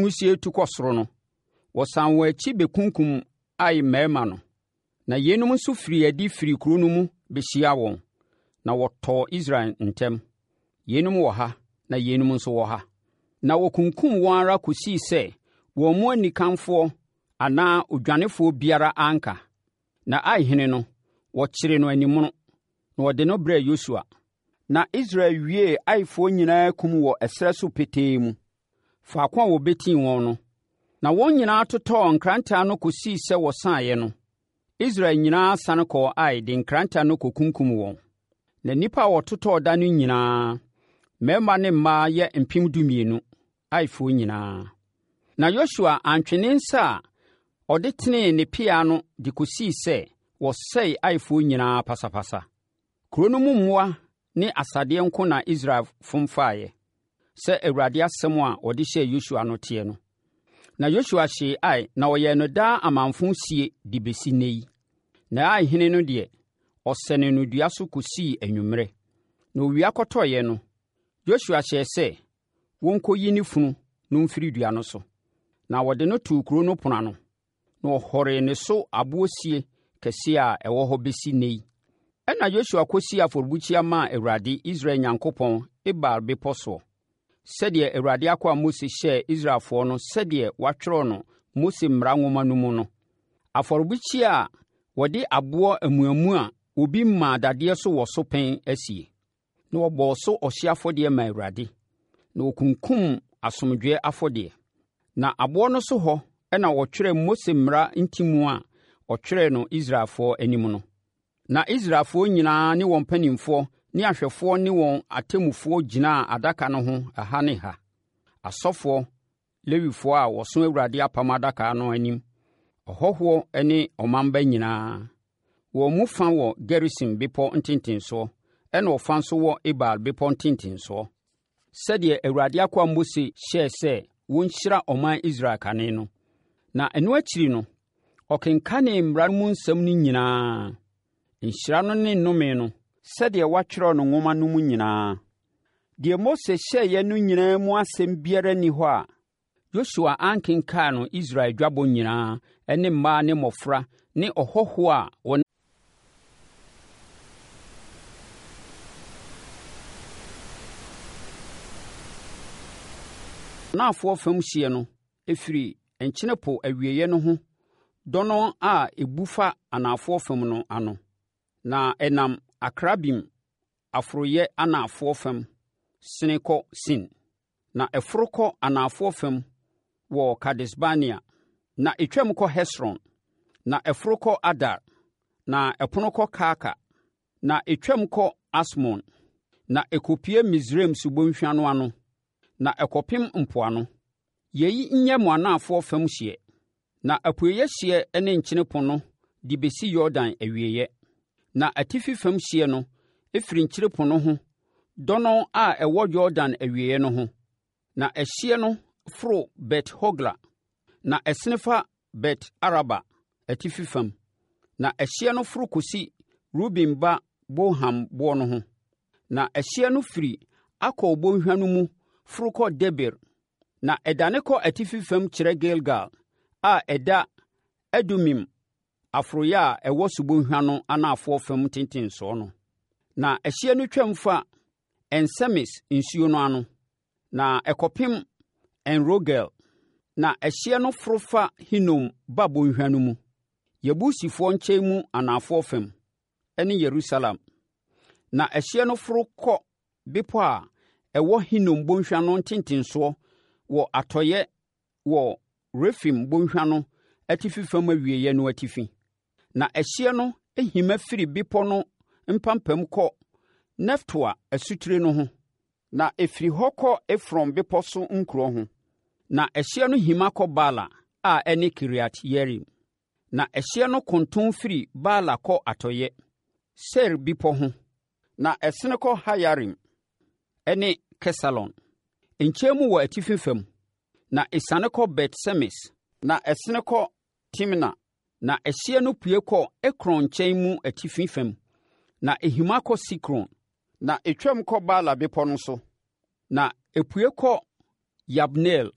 Wisie retu kɔ soro no, wɔsan wɔn akyi bɛkunkum Ai mmarima no. Na yeinom nso firii adi firii kuro no mu bɛhyiaa wɔn, na wɔtɔɔ Israel ntam, yeinom wɔ ha na yeinom nso wɔ ha. Na wɔkunkum wɔn ara kɔsii sɛ wɔn mu anikanfoɔ anaa odwanefoɔ biara anka. Na Ai hene no, wɔkyeree no animono, na wɔde no brɛɛ Yosua. Na Israel wiee Aifoɔ nyinaa kum wɔ ɛserɛ so petee mu, faako a wɔbɛtii wɔn no. Na wɔn nyinaa totɔɔ nkrantɛ ano kɔsii sɛ wɔsaeɛ no, Israel nyinaa sane kɔɔ Ai de nkrantɛ ano kɔkunkum wɔn. Na nnipa a wɔtotɔɔ da no nyinaa, mmarima ne mmaa yɛ 12,000, Aifoɔ nyinaa. Na Yosua antwe ne nsa a ɔde tenee ne pea no de kɔsii sɛ wɔsɛee Aifoɔ nyinaa pasapasa. Kuro no mu mmoa ne asadeɛ nko na Israel fom faeɛ, sɛ Awurade asɛm a ɔde hyɛɛ Yosua no teɛ no. Na Yosua hyee Ai na ɔyɛɛ no daa amamfo sie de bɛsi nnɛ yi. Na Ai hene no deɛ, ɔsɛnee no dua so kɔsii anwummerɛ. Na owia kɔtɔeɛ no, Yosua hyɛɛ sɛ wɔnkɔyi ne funu no mfiri dua no so. Na wɔde no too kuro no pono ano, na wɔhɔree ne so aboɔ sie kɛseɛ a ɛwɔ hɔ bɛsi nnɛ yi. Ɛnna Yosua kɔsii afɔrebukyia maa Awurade, Israel Nyankopɔn, Ebal bepɔ soɔ, sɛdeɛ Awurade akoa Mose hyɛɛ Israelfoɔ no sɛdeɛ wɔatwerɛ no Mose mmara nwoma no mu no. Afɔrebukyia a wɔde aboɔ amuamu a obi mmaa dadeɛ so wɔ so pɛn asie. Na wɔbɔɔ so ɔhyeɛ afɔdeɛ maa Awurade, na wɔkunkumm asomdwoeɛ afɔdeɛ. Na aboɔ no so hɔ na wɔtwerɛɛ Mose mmara ntimu a ɔtwerɛɛ no Israelfoɔ anim no. Na Israelfoɔ nyinaa ne wɔn mpanimfoɔ ne ahwɛfoɔ ne wɔn atemmufoɔ gyinaa adaka no ho ɛha ne ha, asɔfoɔ, Lewifoɔ a wɔso Awurade apam adaka no anim, ɔhɔhoɔ ne ɔmamba nyinaa. Wɔn mu fa wɔ Gerisim bepɔ ntentensoɔ, ɛna ɔfa nso wɔ Ebal bepɔ ntentensoɔ, sɛdeɛ Awurade akoa Mose hyɛɛ sɛ wɔnhyira ɔman Israel kane no. Na ɛno akyiri no, ɔkenkanee mmara mu nsɛm no nyinaa, nhyira no ne nnome no, sɛdeɛ wɔatwerɛ no nwoma no mu nyinaa. Deɛ Mose hyɛeɛ no nyinaa mu asɛm biara nni hɔ a Yosua ankenkan no Israel dwabɔ nyinaa ne mmaa ne mmɔfra ne ɔhɔhoɔ a wɔn. Anafoɔ fam hyeɛ no firi Nkyene Po awieeɛ no ho dɔnnɔn a ɛbu fa anafoɔ fam no ano, na ɛnam Akrabim aforoeɛ anafoɔ fam sene kɔ Sin. Na ɛforo kɔ anafoɔ fam wɔ Kades-Barnea, na ɛtwam kɔ Hesron, na ɛforo kɔ Adar, na ɛpono kɔ Karka, na ɛtwam kɔ Asmon, na ɛkɔpue Misraim subɔnhwa no ano, na ɛkɔpem mpoano. Yei nyɛ mo anafoɔ fam hyeɛ. Na apueeɛ hyeɛ ne Nkyene Po no de bɛsi Yordan awieeɛ. Na atifi fam hyeɛ no firi Nkyene Po no ho dɔnnɔn a ɛwɔ Yordan awieeɛ no ho. Na ɛhyeɛ no foro Bet-Hogla, na ɛsene fa Bet-Araba atifi fam. Na ɛhyeɛ no foro kɔsi Ruben ba Bohan boɔ no ho. Na ɛhyeɛ no firi Akor bɔnhwa no mu foro kɔ Debir Na ɛdane kɔ atifi fam kyerɛ Gilgal a ɛda Adumim aforoeɛ a ɛwɔ subɔnhwa no anafoɔ fam ntentensoɔ no. Na ɛhyeɛ no twam fa En-Semes nsuo no ano, na ɛkɔpem En-Rogel. Na ɛhyeɛ no foro fa Hinom ba bɔnhwa no mu, Yebusifoɔ nkyɛn mu anafoɔ fam, ne Yerusalem. Na ɛhyeɛ no foro kɔ bepɔ a ɛwɔ Hinom bɔnhwa no ntentensoɔ wɔ atɔeɛ wɔ Refaim bɔnhwa no atifi fam awieeɛ no atifi. Na ɛhyeɛ no hima firi bepɔ no mpampam kɔ Neftoa asutire no ho, na ɛfiri hɔ kɔ Efron bepɔ so nkuro ho. Na ɛhyeɛ no hima kɔ Baala a ɛne Kiriat-Yearim. Na ɛhyeɛ no konton firi Baala kɔ atɔeɛ, Seir bepɔ ho, na ɛsene kɔ Haayarim ne Kesalon nkyɛn mu wɔ atifi fam, na ɛsiane kɔ Bet-Semes, na ɛsene kɔ Timna, na ɛhyeɛ no pue kɔ Ekron nkyɛn mu atifi fam, na ɛhima kɔ Sikron, na ɛtwam kɔ Baala bepɔ no so, na ɛpue kɔ Yabneel.